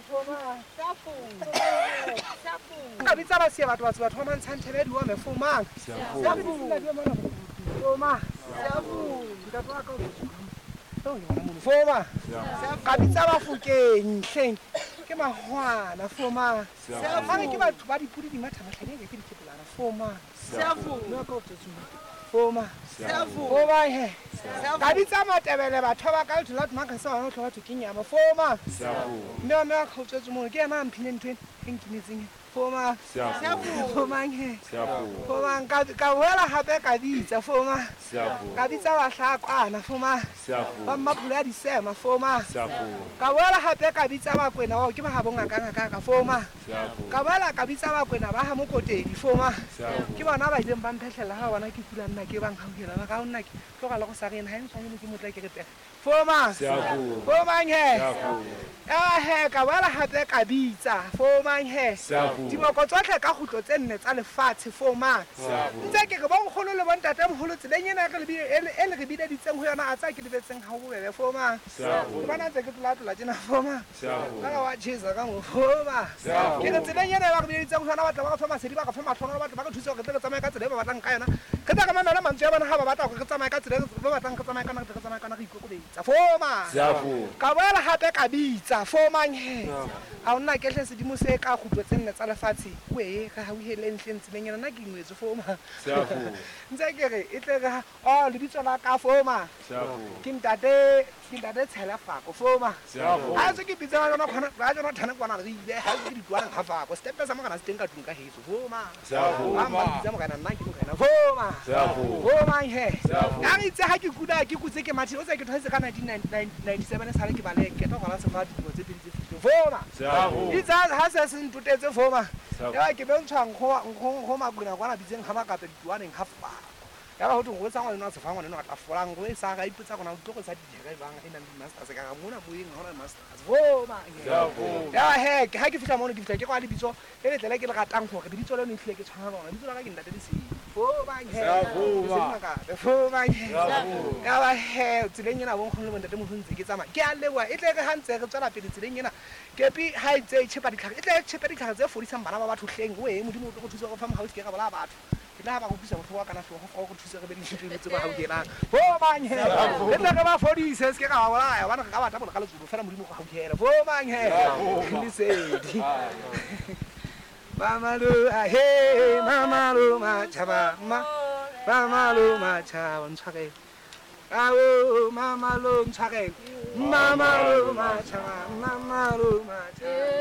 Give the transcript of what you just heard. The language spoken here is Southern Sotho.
Foma. Ka bitsa ba siya batho batho batho ba mantshang thebe di ome fomang. Foma. Ntate wa ka o Foma. Ka bitsa Bafokeng hleng. Ke mahwana foma. Ba re ke batho ba dipudi di matha mahlanyeng ke dikepolana foma. Foma. Foma he. Ka bitsa Matebele batho ba ka letho la maka sa bana batho ke nyama foma. Mme wa mme wa kgaotswetse mono ke ena a mphileng ntho ena e nkimetseng. Foma. Foma he. Foma ka boela hape ka bitsa foma. Ka bitsa Bahlakwana foma. Ba Mmapula ya Disema foma. Ka boela hape ka bitsa Bakwena bao ke ba ha bongaka ngaka ka foma. Ka boela ka bitsa Bakwena ba ha Mokotedi foma. Ke bona ba ileng ba mphehlela ha ba bona ke kula nna ke bang hauhela ba ka nna ke tloga le go sa rena ha e ntshwanele ke motla ke re pega. Foma. Fomang he. Ya he ka boela hape ka bitsa fomang he. Diboko tsohle ka kgutlo tse nne tsa lefatshe fomang. Ntse ke re bonkgono le bontate moholo tseleng ena re e le re bileditseng ho yona a tsa ke lebetseng ha ho bobebe fomang. Ke bona ntse ke tlola tlola tjena fomang. Ka wa chesa ka mo foma. Ke re tseleng ena ba re bileditseng ho yona batla ba re fa masedi ba re fa matlhono batla ba re thuse hore re tle re tsamaye ka tsela e ba batlang ka yona. Re tla re mamela mantswe a bona ha ba batla hore re tsamaye ka tsela e ba batlang re tsamaye ka yona re tle re tsamaye ka yona re ikokobetsa foma. Ka boela hape ka bitsa fomang he. A o nna kehle sedimo se ka kgutlo tse nne tsa lefatshe wee re hauheleng hleng tseleng ena nna ke ingwetswe foma. Ntse ke re e tle re ha oh lebitso la ka foma. Ke ntate ke ntate Tshela Fako foma. Ha se ke bitsa ba jona khona ba jona thana kwana re ile ha ke ditwana ga Fako stepe sa morena se teng ka tlung ka heso foma. Ba mpa bitsa morena nna ke morena foma. Foma he. Ya re itse ha ke kula ke kutse ke mathile o tse ke thwetse ka 1997 sale ke bale ke tlo gola sefa dilemo tse pedi tse fetileng foma. Itse ha se se ntotetse foma. Ya ke bentshwa nkgo nkgo Makwena kwana bitseng ga Makape dituaneng ga Fako. Ya ba ho thwe go tsa ngwana a sefa ngwana a tla folang go e sa ga ipotsa gona o tlo go sa dijere jwang e nang le masters ka ga mona moyeng ha hona masters foma. Ya he ha ke fihla mono ke fihla ke kwa lebitso le letle le ke le ratang hore lebitso leno ehlile ke tshwana lona lebitso la ka ke ntate Lesedi foma he. Foma he. Ya ba he tseleng ena bonkgono le bontate moholo ntse ke tsamaya ke a leboha e tle re ha ntse re tswela pele tseleng ena kepi ha e ntse e tjhepa ditlhare e tle e tjhepe ditlhare tse fodisang bana ba batho hleng oe Modimo o tlo go thusa go fa mohau se ke ra bolaya batho. Ke tla ba go utlwisa bohloko kana hlooho go go thuse re be le dintho tse ba hauhelang. Fomang he. Re tle re ba fodise se ke ra ba bolaya hobane re ka ba tabola ka letsoho fela Modimo go hauhela. Fomang he. Lesedi. Mama lo he mama lo machaba ma mama lo machaba ntshwarele. Ao mama lo ntshwarele. Mama lo machaba mama lo machaba.